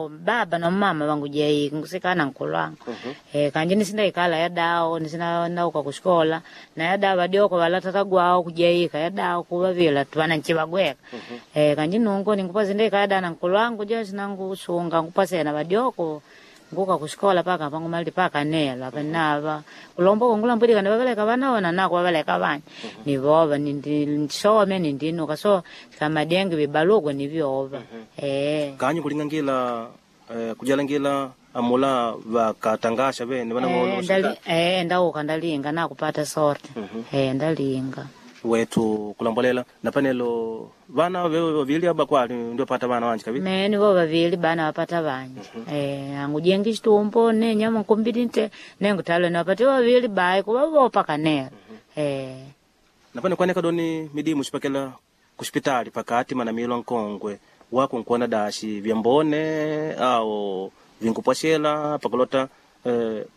Baba na mama vangujaiki ngusikana nkulu wangu. Kanji nisindaikala yadao nisina nauka kushikola na yadao vadioko vala tata gwao kujaika yadao kuvavila twana nchivagweka. Kanji nungu ningupa sindaikala yada na nkulu wangu jo sinangusunga ngupasena vadioko nguka kushikola paka pangumaliti paka nelo apa nava kulomba kungulambwilika nivaveleka vanaona nako vaveleka vanya nivova nindisome nindinuka so kamadengi vibaluko nivyova. Kanyi kulingangila kujalangila amula vakatangasha vene vanang'olo. Ndauka ndalinga nakupata sorte. Ndalinga. Wetu kulambolela na panelo vana vewe vavili aba kwali ndio pata vana wanji kabili. Mene vo vavili bana wapata vanji. Angujengi chitumbo ne nyama nkumbili nte nengutalo niwapate vavili bayi kuva vopa kanelo. Na pane kwaneka doni midimu xipakela kuxipitali pakati manamilwa nkongwe wako nkuona daxi vyambone au vinkupwaxela pakulota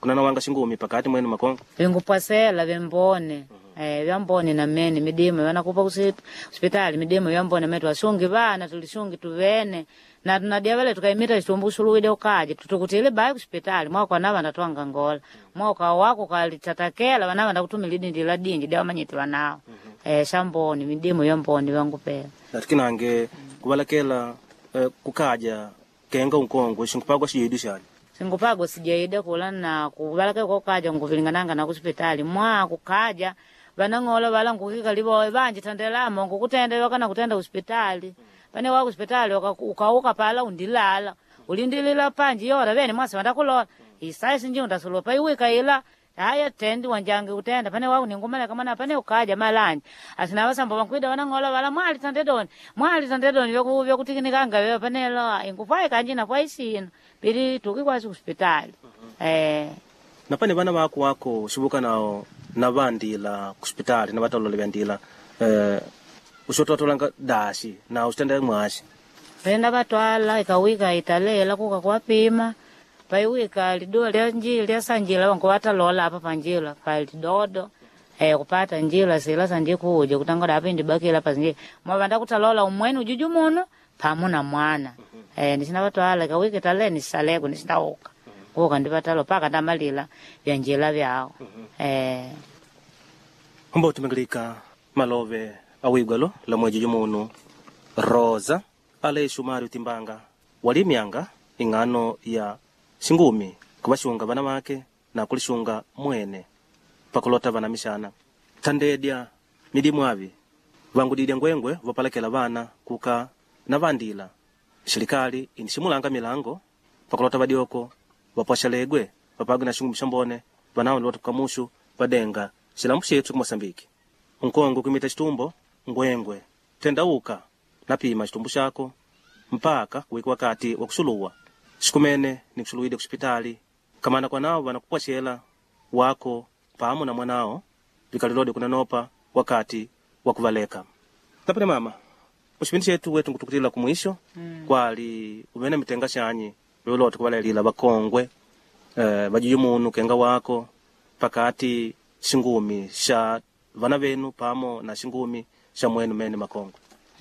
kunana wanga xingumi pakati mwenu makongo. Vingupwasela vyambone. Vyambone na mene midimu vanakupa kusipitali midimu vyambone metu wasungi vana tulisungi tuvene na tunadia vale tukaimita chitumbu usuluwide ukaje tutukutile bayi kusipitali mwaka nava ndatwanga ngola mwaka wako kalitatakela vanava ndakutumila idindi la dinji dia wamanyiti vanao. Shambone midimu vyambone vyangupela. Natikinange kuvalakela kukaja kenga unkongwe xinkupagwa xiyidu xani. Singupagwa sijaida kula na kuvalaka kokaja nguvilingananga na kusipitali mwa kukaja vanang'ola vala ngukika livoe vanji tandelamo ngukutenda wakana kutenda kusipitali pane wa kusipitali ukauka pala undilala ulindilila panji yora vene mwasi vandakulola isaisi nji undasulupa paiwika ila haya tendi wanjangi kutenda pane waku ningumaleka mwana pane ukaja malanje asina vasambo vankwida vanang'ola vala mwali tandedoni mwali tandedoni vyakutikinikanga vyo panelo ingupwai kanji napwai sino pili tuki kwasi kusipitali. Na pane vana vako wako xivuka nao na vandila kusipitali na vatalola vyandila uxototolanga daxi na uxitenda mwaxi. Penda vatwala ikawika italela kuka kuwapima paiwika liduwa lya lya sanjila vangu vatalola apa panjila pa lidodo kupata njila sila sanje kuja kutangoda apa indibakila pa sinje mwavanda kutalola umweni ujuju muno pamu na mwana. Nisina vatwala ikawika itale nisaleko nisindauka kuka ndivatalo paka ndamalila vya njila vyao. Humba utumingilika malove awigwalo la mwejuju munu Rosa Aleixo Mário Timbanga walimyanga ing'ano ya xingumi kuvaxunga vana vake na kulixunga mwene pakulota vana mixana thandedya midimu avi vangudidya ngwengwe vopalakela vana kuka na vandila xilikali iniximulanga milango pakulota vadioko vapwaxalegwe vapagwe na xingumi xambone vanawo lota kukamuxu vadenga xilambu xethu ku Moçambique nkongo kuimita xitumbo ngwengwe tendauka napima xitumbu xako mpaka kuwika wakati wa kuxuluwa xikumene ni kuxuluwide kuxipitali kamana kwanao vanakupwaxela wako pamo na mwanao vikalilode kunanopa wakati wa kuvaleka tapene mama muxipindi xetu wetu nkutukutila kumwisho. Kwali uvene mitenga xanyi veulota kuvalelila vakongwe vajuju munu kenga wako pakati xingumi xa vana venu pamo na xingumi xa mwenu mene makongwe.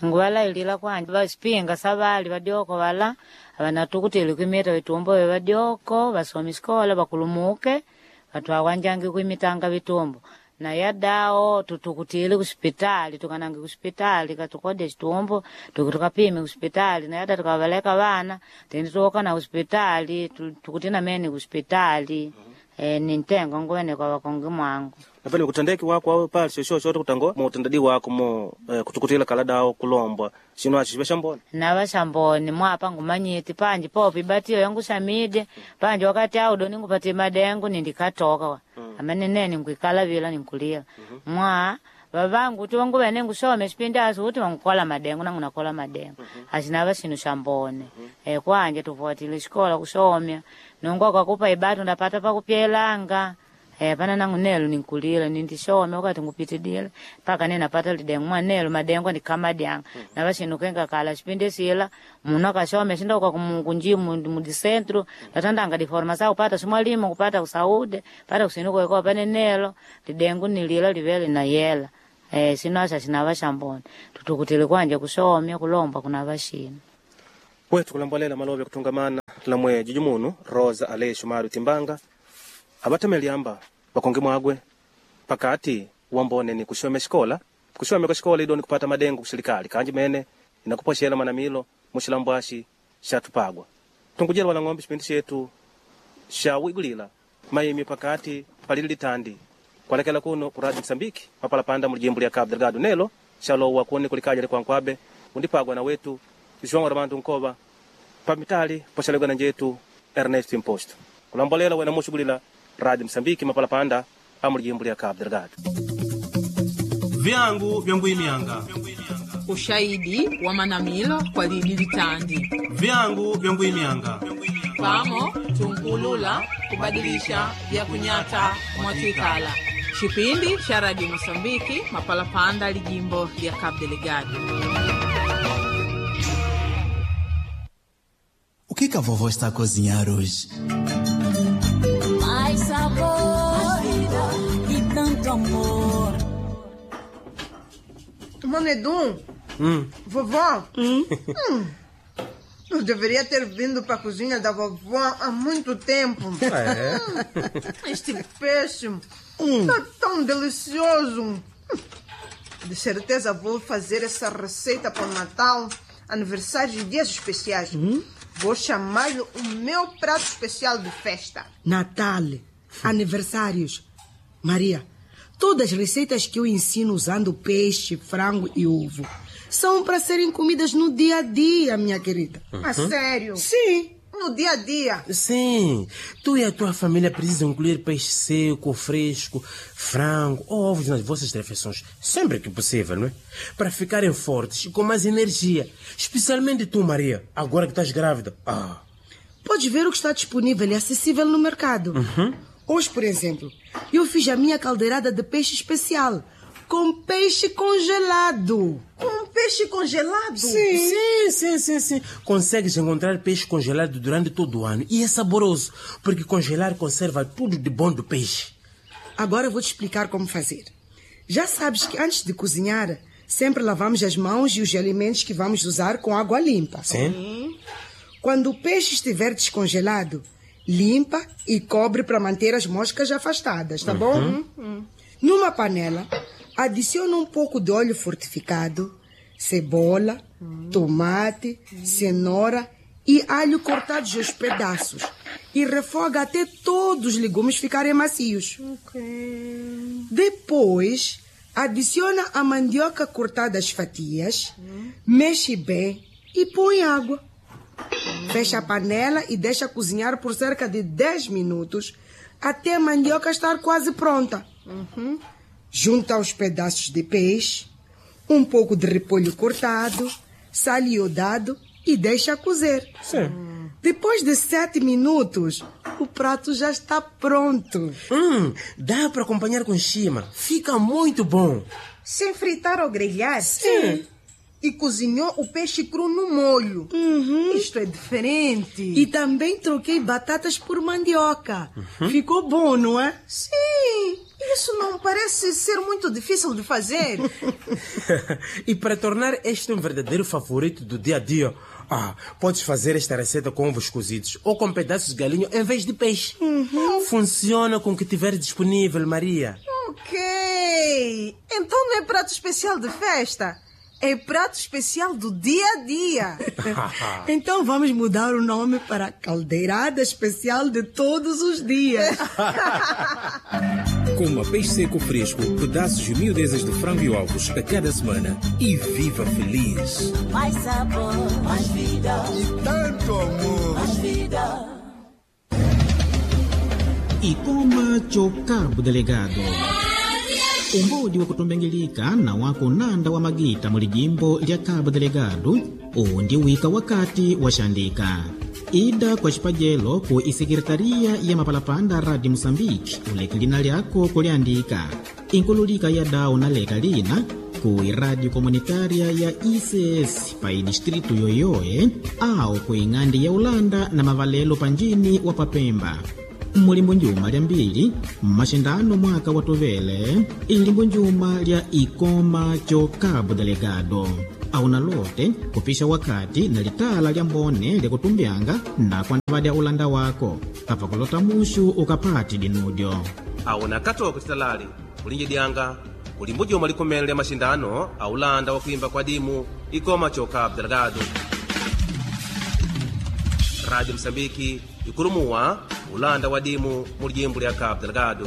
Nguvalailila kwanja vasipinga savali vadioko vala vanatukutile kuimita vitumbo vye vadioko vasomi xikola vakulumuke vatwawanjangi kuimitanga vitumbo na yadao tutukutile kusipitali tukanange kusipitali katukode chitumbo tuki tukapime kusipitali na yada tukavaleka vana tendi tuoka na kusipitali tukutina meni kusipitali. Nintengo nguwene kwa wakongi mwangu. Napene kutandeki wako awe pali shosho shote kutango mo utendadi wako mo kutukutila kala dao kulombwa xino axi xive xambona. Nava xamboni mwapa ngumanyiti panji popi batiyo yangu xamide panji wakati audo ningupatie madengu nindikatoka wa. Amene nene nguikala vila ninkulila. Mwa vavangu uti wangu vene ngusome xipindi asi uti wangukola madengu nangu nakola madengu. Axinava xinu xambone. Kwanje tufuatile xikola kusomya nungu akakupa ibatu ndapata pakupyelanga. Pana nangu nelo ninkulila nindishome wakati ngupitidile paka nene napata lidengu mwa nelo madengu ndikamadyanga. Nava xinu kenga kala xipindi sila munu akashome xindoka kunji mudicentro ndatandanga diforma kupata ximwalimu kupata kusaude pata kusinuko pane nelo lidengu nilila livele na yela. Sino axa xinava xambone tutukutile kwanje kushomya kulomba kunava xinu. Wetu kulambolela malove kutungamana lamwe jujumunu Rosa Aleixo Mário Timbanga abatameliamba bakonge mwagwe pakati wambone ni kushome xikola kushome kwa xikola idoni kupata madengo kuxilikali kanji mene inakupoxela manamilo muxilambwaxi xatupagwa tunkujela wala ng'ombe xipindi xetu xawigulila maimi pakati palili litandi kwalekela kuno ku Radio Msambiki mapalapanda mu lijimbo lya Cabo Delgado nelo xalowa kuni kulikaja likwankwabe undipagwa na wetu João Armando Nkova pamitali poxalegwa na njetu Ernesto Imposto kulambolela wena muxugulila Radio Msambiki mapalapanda amu lijimbo lya Cabo Delgado. Vyangu vyanguimianga Ushahidi wa manamilo kwa lidi litandi vyangu vyanguimianga pamo tunkulula kubadilisha vya kunyata mwatwikala chipindi cha Radio Mosambiki mapalapanda lijimbo lya Cabo Delgado. O que que a vovó está a cozinhar hoje? Mais sabor, mais vida e tanto amor. Manedum, vovó, eu deveria ter vindo para a cozinha da vovó há muito tempo. Este peixe está tão delicioso. De certeza vou fazer essa receita para o Natal, aniversário e dias especiais. Vou chamar-lhe o meu prato especial de festa. Natal, aniversários. Maria, todas as receitas que eu ensino usando peixe, frango e ovo são para serem comidas no dia a dia, minha querida. A sério? Sim. No dia a dia. Sim, tu e a tua família precisam incluir peixe seco, fresco, frango ou ovos nas vossas refeições, sempre que possível, não é? Para ficarem fortes e com mais energia. Especialmente tu, Maria, agora que estás grávida. Ah, Podes ver o que está disponível e acessível no mercado. Hoje, por exemplo, eu fiz a minha caldeirada de peixe especial com peixe congelado. Com peixe congelado? Sim. Consegues encontrar peixe congelado durante todo o ano e é saboroso, porque congelar conserva tudo de bom do peixe. Agora eu vou te explicar como fazer. Já sabes que antes de cozinhar, sempre lavamos as mãos e os alimentos que vamos usar com água limpa. Sim? Quando o peixe estiver descongelado, limpa e cobre para manter as moscas afastadas, tá bom? Numa panela, adiciona um pouco de óleo fortificado, cebola, tomate, cenoura e alho cortados aos pedaços e refoga até todos os legumes ficarem macios. Depois, adiciona a mandioca cortada às fatias, mexe bem e põe água. Fecha a panela e deixa cozinhar por cerca de 10 minutos até a mandioca estar quase pronta. Junta os pedaços de peixe, um pouco de repolho cortado, sal iodado e deixa cozer. Sim. Depois de 7 minutos, o prato já está pronto. Dá para acompanhar com chima. Fica muito bom. Sem fritar ou grelhar? Sim. E cozinhou o peixe cru no molho. Isto é diferente. E também troquei batatas por mandioca. Ficou bom, não é? Sim, isso não parece ser muito difícil de fazer. E para tornar este um verdadeiro favorito do dia a dia, podes fazer esta receita com ovos cozidos ou com pedaços de galinha em vez de peixe. Funciona com o que tiver disponível, Maria. Ok. Então não é prato especial de festa. É prato especial do dia a dia. Então vamos mudar o nome para Caldeirada Especial de Todos os Dias. Coma peixe seco fresco, pedaços e miudezas de frango e ovos a cada semana e viva feliz. Mais sabor, mais vida. E tanto amor. Mais vida. E coma Cabo Delegado. Umbodi wa kutumbengelika na wako nanda wa magita mu lijimbo lya Cabo Delegado uwu ndi wika wakati waxandika ida kwa xipajelo ku isekretariya ya mapalapanda Radio Moçambique uleke lina lyako kuliandika inkululika ya dawu na leka lina ku iradio komunitária ya ICS pa idistritu yoyoe au ku ing'andi ya Ulanda na mavalelo panjini wa Papemba mulimbo njuma lya mbili mmaxindano mwaka wa tuvele ilimbo njuma lya ikoma co Cabo Delegado. Auna lote kupisha wakati na litala lya mbone lyakutumbyanga na kwandavadya ulanda wako kapakulota mushu ukapati dinudyo. Awona akatoka titalali kulinjidyanga kulimbo juma likomene lya maxindano a ulanda wa kuimba kwa dimu ikoma choka Delgado. Rádio Moçambique ikulumuwa ulanda wa dimu mu lijimbo lya Cabo Delgado.